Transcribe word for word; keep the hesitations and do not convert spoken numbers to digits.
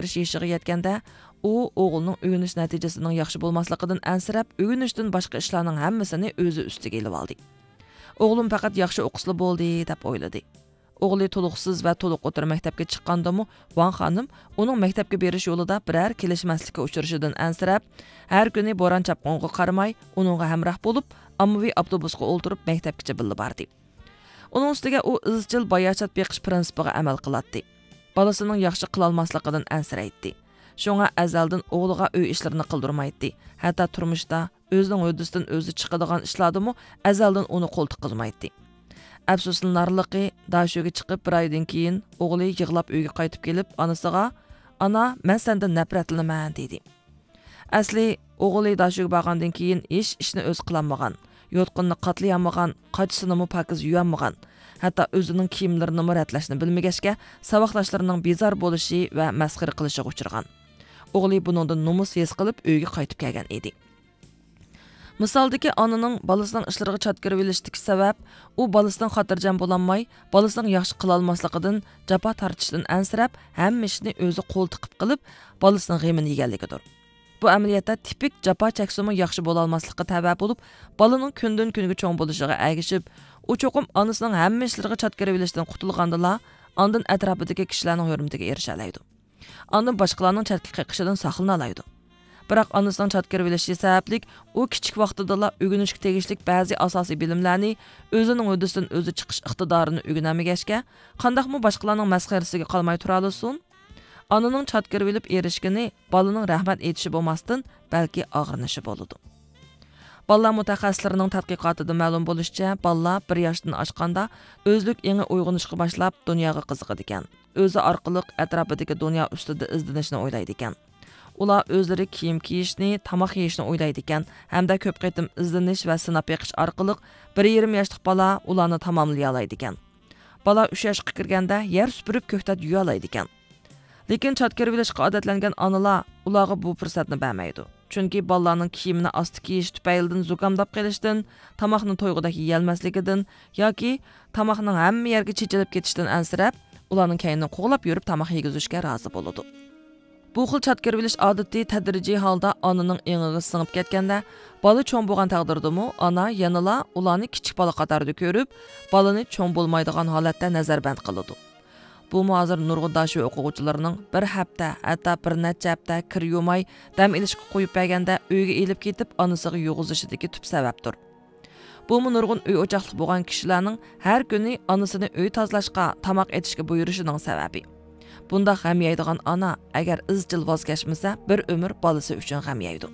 بىر يېشىغا يەتكەندە، ئۇ ئوغلىنىڭ ئۆگىنىش نەتىجىسىنىڭ ياخشى بولماسلىقىدىن ئەنسىرەپ، ئۆگىنىشتىن باشقا ئىشلارنىڭ ھەممىسىنى ئۆزى ئۈستىگە ئېلىۋالدى. «ئوغلۇم پەقەت ياخشى ئوقۇسىلا بولدى» دەپ ئويلىدى. ئوغلى تولۇقسىز ۋە تولۇق ئوتتۇرا مەكتەپكە چىققاندىمۇ، ۋاڭ خانىم ئۇنىڭ مەكتەپكە بېرىش يولىدا بىرەر كېلىشمەسلىككە ئۇچرىشىدىن ئەنسىرەپ، ھەر كۈنى بوران-چاپقۇنغا قارىماي، ئۇنىڭغا ھەمراھ بولۇپ، ئاممىۋى ئاپتوبۇسقا ئولتۇرۇپ، مەكتەپكىچە بىللە باردى. ئۇنىڭ ئۈستىگە ئۇ ئىزچىل باياشات بېقىش پىرىنسىپىغا ئەمەل قىلاتتى. بالىسىنىڭ ياخشى قىلالماسلىقىدىن ئەنسىرەيتتى. شۇڭا ئەزەلدىن ئوغلىغا ئۆي ئىشلىرىنى قىلدۇرمايتتى. ھەتتا تۇرمۇشتا ئۆزىنىڭ ھۆددىسىدىن ئۆزى چىقىدىغان ئىشلاردىمۇ ئەزەلدىن ئۇنى قول تىققۇزمايتتى. ئەپسۇسلىنارلىقى، داشۆگە چىقىپ بىر ئايدىن كېيىن ئوغلى يىغلاپ ئۆيگە قايتىپ كېلىپ، ئانىسىغا، «ئانا، مەن سەندىن نەپرەتلىنىمەن» دېدى. ئەسلى ئوغلى داشۆگە بارغاندىن كېيىن ھېچ ئىشنى ئۆزى قىلالمىغان، يوتقىنىنى قاتلىيالمىغان، قاچىسىنىمۇ پاكىز يۇيالمىغان، ھەتتا ئۆزىنىڭ كىيىملىرىنىمۇ رەتلەشنى بىلمىگەچكە، ساۋاقداشلىرىنىڭ بىزار بولۇشى ۋە مەسخىرە قىلىشىغا ئۇچرىغان. ئوغلى بۇنىڭدىن نومۇس ھېس قىلىپ، ئۆيىگە قايتىپ كەلگەن ئىدى. مىسالدىكى ئانىنىڭ بالىسىنىڭ ئىشلىرىغا چات كىرىۋېلىشتىكى سەۋەب، ئۇ بالىسىدىن خاتىرجەم بولالماي، بالىسىنىڭ ياخشى قىلالماسلىقىدىن، جاپا تارتىشىدىن ئەنسىرەپ، ھەممە ئىشنى ئۆزى قول تىقىپ قىلىپ، بالىسىنىڭ غېمىنى يېگەنلىكىدۇر. بۇ ئەمەلىيەتتە تىپىك جاپا چەكسىمۇ ياخشى بولالماسلىققا تەۋە بولۇپ، بالىنىڭ كۈندىن-كۈنگە چوڭ بولۇشىغا ئەگىشىپ، ئۇ چوقۇم ئانىسىنىڭ ھەممە ئىشلىرىغا چات كىرىۋېلىشتىن قۇتۇلغاندىلا، ئاندىن ئەتراپىدىكى كىشىلەرنىڭ ھۆرمىتىگە ئېرىشەلەيدۇ. ئاندىن باشقىلارنىڭ چەتكە قېقىشىدىن ساقلىنالايدۇ. بىراق ئانىسىنىڭ چات كىرىۋېلىشى سەۋەبلىك ئۇ كىچىك ۋاقتىدىلا ئۆگىنىشكە تېگىشلىك بەزى ئاساسىي بىلىملەرنى، ئۆزىنىڭ ھۆددىسىدىن ئۆزى چىقىش ئىقتىدارىنى ئۆگىنەلمىگەچكە، قانداقمۇ باشقىلارنىڭ مەسخىرىسىگە قالماي تۇرالىسۇن؟ ئانىنىڭ چات كىرىۋېلىپ ئېرىشكىنى بالىنىڭ رەھمەت ئېيتىشى بولماستىن، بەلكى ئاغرىنىشى بولىدۇ. بالىلار مۇتەخەسسىسلىرىنىڭ تەتقىقاتىدا مەلۇم بولۇشىچە، بالىلار بىر ياشتىن ئاشقاندا ئۆزلۈك ئېڭى ئويغىنىشقا باشلاپ، دۇنياغا قىزىقىدىكەن. ئۆزى ئارقىلىق ئەتراپىدىكى دۇنيا ئۈستىدە ئىزدىنىشنى ئويلايدىكەن. ئۇلار ئۆزلىرى كىيىم كىيىشنى، تاماق يېيىشنى ئويلايدىكەن ھەمدە كۆپ قېتىم ئىزدىنىش ۋە سىناپ بېقىش ئارقىلىق بىر يېرىم ياشلىق بالا ئۇلارنى تاماملىيالايدىكەن. بالا ئۈچ ياشقا كىرگەندە يەر سۈپۈرۈپ، كۆكتات يۇيالايدىكەن. لېكىن چات كىرىۋېلىشقا ئادەتلەنگەن ئانىلار ئۇلارغا بۇ پۇرسەتنى بەرمەيدۇ. چۈنكى بالىلارنىڭ كىيىمىنى ئاستا كىيىشى تۈپەيلىدىن زۇكامداپ قېلىشتىن، تاماقنى تويغۇدەك يېيەلمەسلىكىدىن ياكى تاماقنىڭ ھەممە يەرگە چېچىلىپ كېتىشىدىن ئەنسىرەپ، ئۇلارنىڭ كەينىدىن قوغلاپ يۈرۈپ تاماق يېگۈزۈشكە رازى بولىدۇ. بۇ خىل چات كىرىۋېلىش ئادىتى تەدرىجىي ھالدا ئانىنىڭ ئېڭىغا سىڭىپ كەتكەندە، بالا چوڭ بولغان تەقدىردىمۇ ئانا يەنىلا ئۇلارنى كىچىك بالا قاتارىدا كۆرۈپ، بالىنى چوڭ بولمايدىغان ھالەتتە نەزەربەند قىلىدۇ. بۇمۇ ھازىر نۇرغۇن داشۆ ئوقۇغۇچىلىرىنىڭ بىر ھەپتە، ھەتتا بىر نەچچە ھەپتە كىر يۇماي، دەم ئېلىشقا قويۇپ بەرگەندە، ئۆيگە ئېلىپ كېتىپ، ئانىسىغا يۇغۇزۇشىدىكى تۈپ سەۋەبتۇر. بۇمۇ نۇرغۇن ئۆي ئوچاقلىق بولغان كىشىلەرنىڭ ھەر كۈنى ئانىسىنى ئۆي تازىلاشقا، تاماق ئېتىشكە بۇيرۇشىنىڭ سەۋەبى. بۇنداق غەم يەيدىغان ئانا ئەگەر ئىزچىل ۋاز كەچمىسە، بىر ئۆمۈر بالىسى ئۈچۈن غەم يەيدۇ.